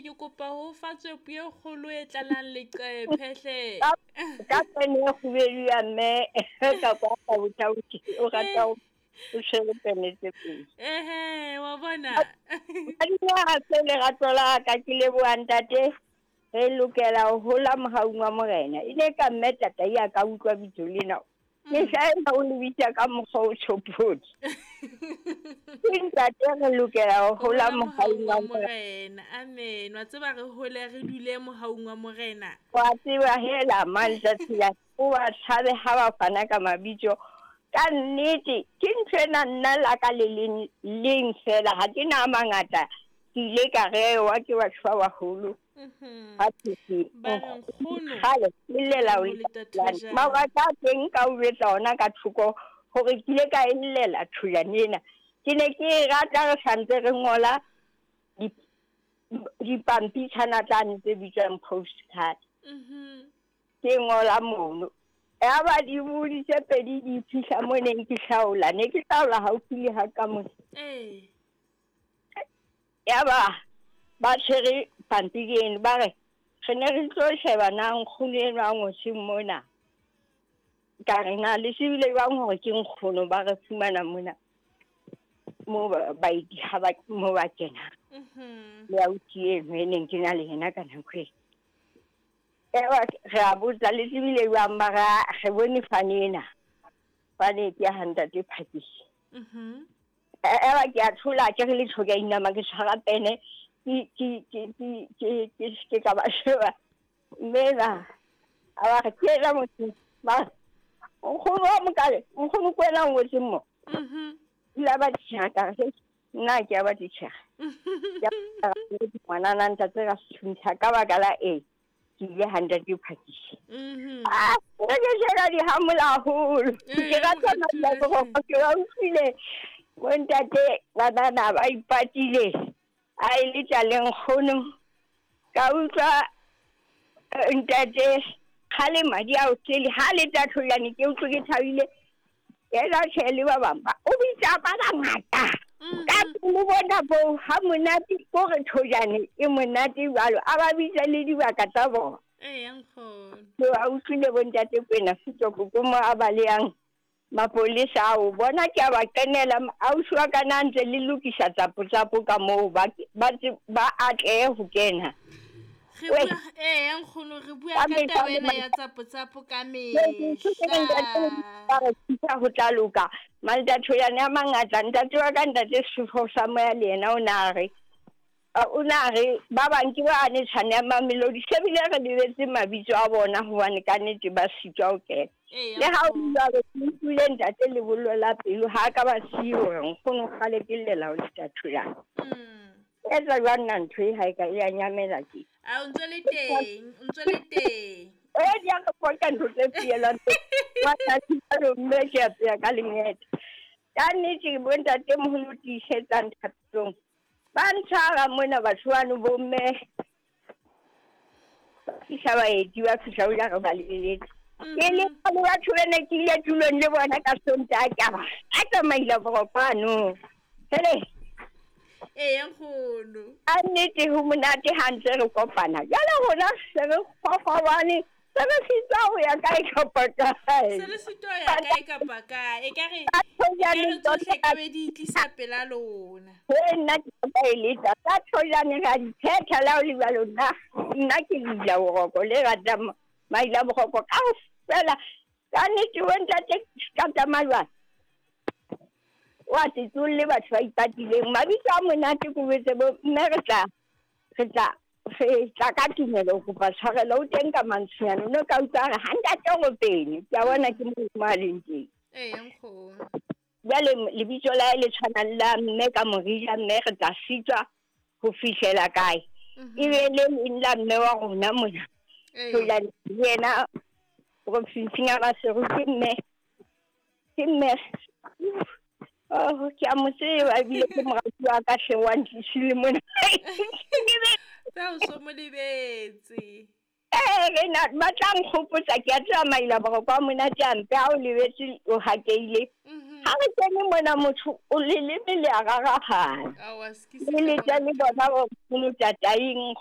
ke kopa ho fa tswepo e kgolo e tlalang leqephe hle. Ka pene e kgubedu ya mme kapa ka botauti o rata o tshwere pene tse pedi. Ehe, wa bona. Madinga se lerato la ka ke leboha ntate. Re lokela ho hola mohaung wa Morena. E ne ka mme tata ya ka utlwa bitso lena. Ke hlaela o lebitsa ka mokgwa o tshopodi. Ke ntate re lokela ho hola mohaung wa Morena. Amen. Wa tseba re hole re dule mohaung wa Morena. Wa tseba hela mantsatsi la o ba tshabe ha ba fana ka mabitso. Ka nnete ke ntho ena nna la ka le leng fela ha ke na mangata. Ke ile ka rewa ke batho ba baholo. Kgale ke llela o mabaka a teng ka o betsa ona ka thoko hore ke ile ka e llela thojane ena. Ke ne ke e rata re santse re ngola dipampitshana tsane tse bitswang postcard. Ke ngola mono. Yaba dibodi tse pedi di fihla mo neng ke hlaola. Ne ke hlaola haufi le ha ka mona. Yaba ba tshwere pampiri eno ba re re ne re tlo sheba na nkgono eno a ngotseng mona. Ka re na le tsebile jwang hore ke nkgono ba re fumana mona mo baeti ha ba mo ba kena. Le ausi eno e neng ke na le yena ka nako eo. Ewa re a botsa le tsebile jwang ba re bone fane ena. Fane ke ya ha ntate Phakisi. Ewa ke a thola ke re le tjho ke a inama ke tshwara pene. Ke ka ba sheba mme na a ba re ke ena motho ba nkgono wa mokale nkgono ke wena o ngotseng mo. Ile ba tjhera ka re nna ke a ba tjhera. Ngwanana ntate ka sethuntha ka baka la e ke ile ha ntate Phakisi. Ah, ke jela di hamola haholo. Ke rata mabaka ke ba utlwile bontate banana ba ipatile. A e le tlaleng kgono ka utlwa ntate kgale madi a o tsele ha le tla tholane ke utlwe ke thabile yena tjhe le ba bang ba o bitsa ba bangata ka pele bona bo ha monate ko re thojane e monate jwalo a ba bitsa le dibaka tsa bona. Ee, nkgono. Ke a utlwile bontate Kwena Setoko ko mo a balehang mapolesa ao bona ke a ba kenela ausi wa ka na ntse le lokisa tsapo-tsapo ka moo ba atlehe ho kena. Re bua ee nkgono re bua ka taba ena ya tsapo-tsapo ka mehla. Ho tla loka maltatho yane a mangata ntate wa ka ntate Sefo sa moya le yena o na re ba bang ke ba ne tshwane ya Mamelodi se bile re lebetse mabitso a bona hobane ka nnete ba sitwa ho kena. Le ha o jwalo ke utlwile ntate lebollo la pelo ha ka ba siyo hore nkgono kgale ke llela ho letatho la. Etsa jwang nna ntho e ha e ka e a nyamela ke. A o ntso le teng, o ntso le teng. Eh di a re poka ntho tse fielwang. Wa tla mme ke a tseya ka lengete. Ka nnete bontate moholo tiisetsang thapelong. Ba ntshwara mona batho bano bomme. Ba fihla baeti ba fihla o ja re ba lebeletse. Ke le batho ba ne ke ile tulong le bona ka Sontaha ke a ba a tsamaile borokwane. Hele. Ee nkgono. A nnete ho monate ha ntse re kopana. Jwale rona se re kgokgobane se re sitwa ho ya kae kapa kae. Se re sitwa ho ya kae kapa kae. E ka re tsohle ka be di tlisa pela lona. Ee nna ke ka e letsa. Ka thojane ra di phetha la ho le jwalo nna. Nna ke dula boroko le rata maila boroko kaofela. Ka nnete bo ntate ka tsamaya jwang. Wa tsolle batho ba ipatileng mabitso a monate ko betse bo mme re tla ka tumelo ho kopa tshwarelo o teng ka mantswenyana no ka utlwa re ha ntate Ropene ke a bona ke mo a leng teng. Ee nkgono. Jwale lebitso la le tshwanang la mme ka morija mme re tla sitwa ho fihlela kae. E be le leng la mme wa rona mona. Jwale yena profinsing ya Maseru ke mme ke mme. Oh, ke a mo tseba ebile ke morati wa ka hle wa ntlisile mona. Tsa o so mo lebetse. Eh re na ba tla nkgopotsa ke a tseba maila boroko a monate a mpe ha o lebetse o hakeile. Ha re kene mona motho o leleme le a rarahana. Awa, se Le letsa le bona bo nkgono tataing.